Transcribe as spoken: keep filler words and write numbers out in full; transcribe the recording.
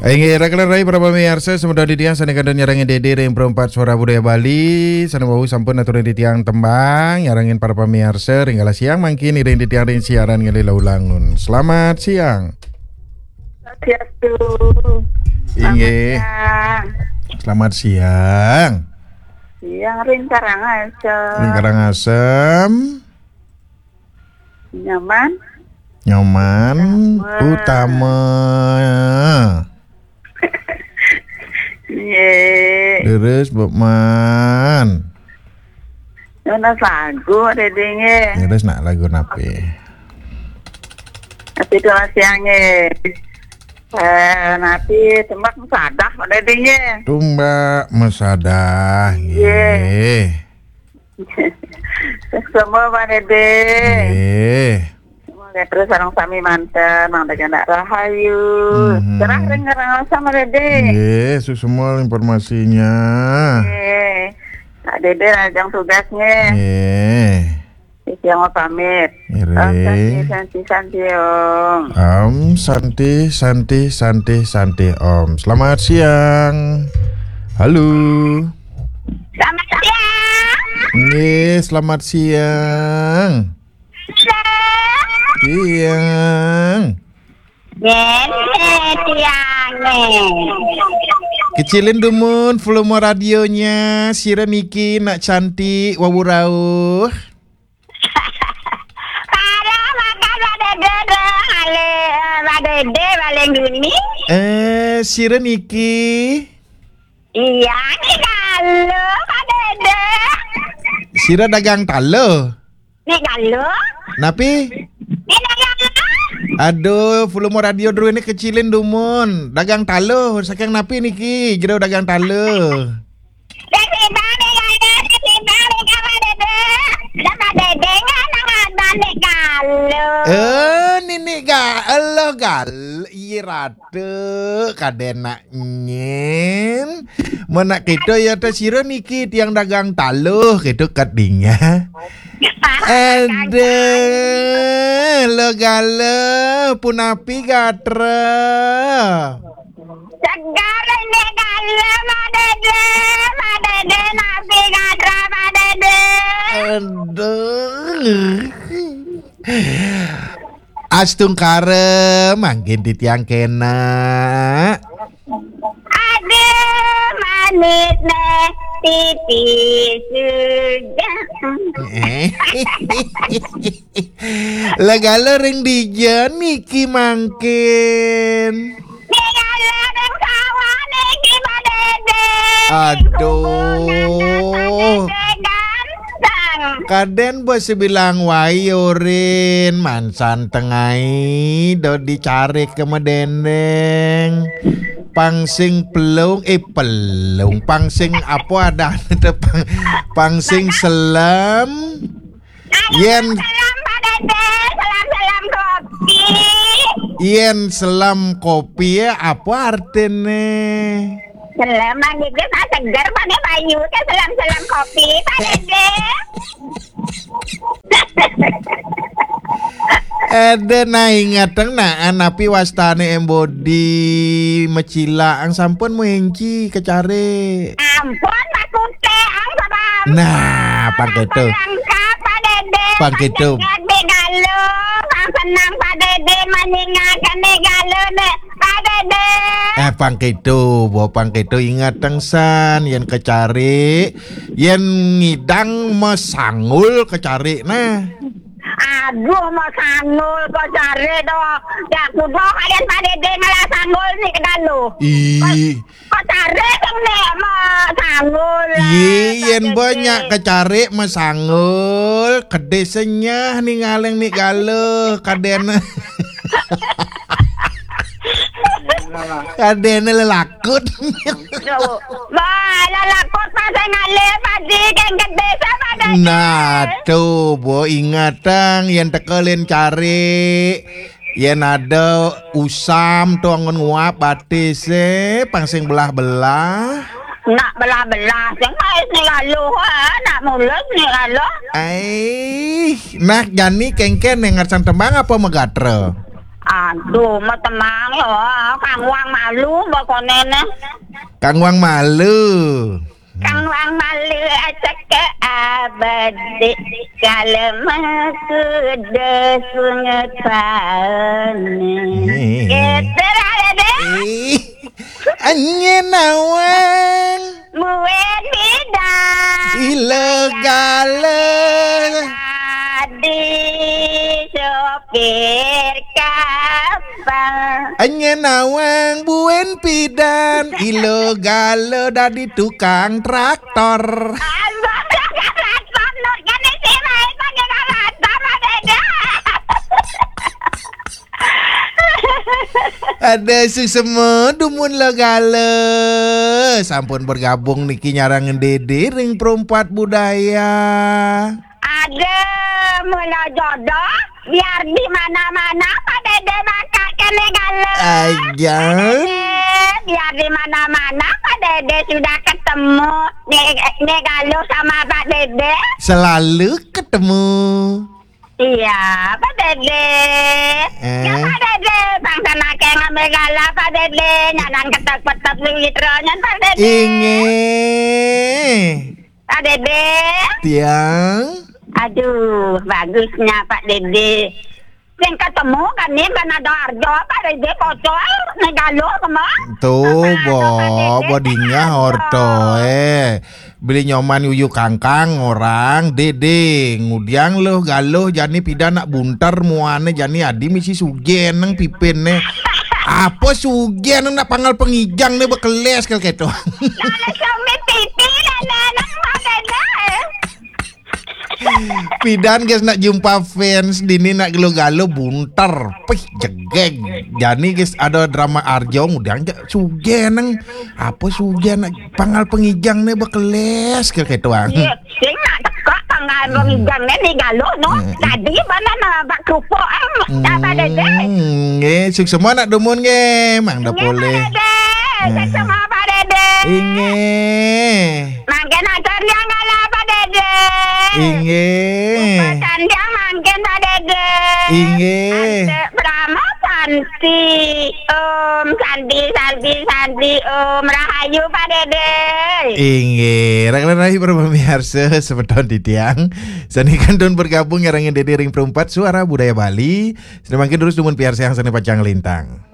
Inggih, rakan rai para pamiarsa, semeton titiang sane kantun nyarengin Dede ring Perempat Suara Budaya Bali, sane wau sampun aturin titiang tembang, nyarengin para pamiarsa, ring galah siang mangkin iring titiang ring siaran ngalih laulangun. Selamat siang. Swastiastu. Inggih. Selamat siang. Selamat siang. Siang ring Karangasem. Ring Karangasem. Nyoman. Nyoman Utama. Utama. Nggih. Leres, Bukman. Nunas lagu, Dede, nggih. Leres nak lagu napi? Napi tunas siang, nggih. Eh, napi tumbak mesadah, Dede, nggih. Tumbak mesadah, nggih. Nggih. Semua, Pak Dede. Nggih. Semua terus sareng sami manten, mangda anak rahayu. Mhm. Cerah ring ngerasa, Pak Dede. Nggih, suksma informasinya. Nggih. Pak Dede, lajeng tugas, nggih. Nggih. Titiang pamit. Nggih. Om Santi, Santi, Santi, Om. Om Santi, Santi, Santi, Santi, Om. Selamat siang. Halo. Selamat siang. Nggih, selamat siang. Siang. Siang. Nggih, siang, nggih. Kecilin dumun volume radionya, sira niki nak cantik, wau rauh. Parah makan Pak Dede, dah. Ale, eh, Pak Dede paling duni. Eh, sira niki? Iya, ni galuh, Pak Dede. Sira dagang taluh? Ni galuh? Napi? Ni dagang apa? Aduh, volume radio druene kecilin dumun. Dagang taluh, saking napi niki? Jero dagang taluh. Dek Sibang, dek Gade, dek Sibang, dek Pak Dede. Dek Pak Dede, nggak nang abang, dek galuh. Eh, nini galuh, gal-, iya, rada, kaden nak nyen. Menak kita ya, teh, sira niki tiang dagang taluh, gitu, kadinga. Aduh, lo galuh, punapi gatra. Segar ini galuh, Pak Dede. Pak Dede, napi gatra, Pak Dede? Aduh. Astungkara, mangkin titiang kena. Aduh, manis neh, pipi sudah. Eh. Lah, galuh ring dija niki mangkin? Ning galuh ring sawah niki, Pak Dede. Aduh. Sumur nanas, Pak Dede ganteng. Kaden bos bilang wai urin, mansan tengai, do dicarik ke medendeng. Pang sing pelung, eh, pelung. Pang sing apa ada, pang, pang sing selam. Yen selam, Pak Dede, selam-selam kopi. Yen selam kopi, ya, apa artine? Selam, Pak Dede, nah, seger, Pak Dede, bayu, ke selam-selam kopi, Pak Dede. Ada, nah, ingatang, nah, napi wastane embodi mecila, ang sampun muenci kecare. Ampun, Pak Kute, ang sabab. Nah, pang keto. Lengkap, Pak Dede. Pang keto. Pang galuh, pang senang, Pak Dede, menyingakan nih galuh, nih, Pak Dede. Eh, pang keto, bo pang keto, ingatang san, yen kecare, yen ngidang masangul kecare, nah. Aduh, masangul kecare, doh. Ya, kudu kalian Pak Dede ngalah sangul nih ke galuh. Ih. Kok tarik, Nek, mau sanggul, iya, eh, yen banyak kecari mau sanggul, kedis senyah ningalin ni galuh, kaden. Kaden lelakut. Bah, lelakut pas ngalih padi, keng kedis apa dah? Nah, tuh, bo, ingatang, yen tekelin cari. Yen ada usam to anggon nguap batis, eh, pang sing belah-belah. Nak belah-belah, sing ais ni lalu, ha, nak mulus ni lalu. Ai, nah jani kengken ngersan tembang apa megatra? Aduh, metemang ya, kang wang malu mbok konene. Kang wang malu. Kang wang malu aceke abadi, kale mekude sunget paene. Eh. Gitu lah, Dede. Eh. Anyen nawang. Muen bidan. Ilo galo. Dadi sopir kapal. Anyen nawang buen pidan. Ilo galo dadi tukang traktor. Abang tukang traktor, Nur, kan isi main pakai traktor, Pak Dede. Ada suksma dumun lo galo. Sampun bergabung niki nyarengin Dede ring Perempat Budaya. Ada mula jodoh, biar di mana-mana Pak Dede bakal kene galo. Aja. Pak Dede, biar di mana-mana Pak Dede sudah ketemu. Nih, nih galo sama Pak Dede. Selalu ketemu. Iya, Pak Dede. Eh? Ya, Pak Dede, bang sana ke ngambil gala, Pak Dede. Nyanang ketek-petek duit ronyan, Pak Dede. Inggih. Pak Dede. Tiang. Aduh, bagusnya Pak Dede. Sing ketemu kan nih, kan ada arjo, Pak Dede, pocol, nih galo, kemang. Tuh, apa bo, ada, Pak Dede? Bo dingah arjo. Orto, eh. Beli nyoman yuyu kangkang orang, Dede. Ngudiang loh galoh jani pidan nak bunter muane jani adi misi sugen nang pipin ne. Apa sugen nang nak pangal pengijang ne bekeles kal keto. Kalau suami pipi dan anak mana? Pidan guys nak jumpa fans dini nak galo-galo bunter. Pih jegeg. Jani guys ada drama arjo ngudiang ja sugen nang. Apa sugen nak pangal pengijang ne bekeles ke ketuang. Iya, sing nak teka pangal pengijang ne ni galo no. Hmm. Tadi mana na bak kerupuk, eh. Apa Dede? Hmm, nggih, suksma nak dumun nggih, Mang Dapole. Nggih, Pak Dede. Hmm. Suksma Pak Dede. Inggih. Mangkin atur dia galo Pak Dede. Inggih. Upacan dia mangkin Pak Dede. Inggih. Ante Brahma Santi. Om Santi, Santi, Santi, Om Rahayu, Pak Dede. Inggih, rakan rahayu para pamiarsa, semeton titiang. Sane kantun bergabung nyarengin Dede ring Perempat Suara Budaya Bali. Sane mangkin terus dumun piarsayang sane pacang lintang.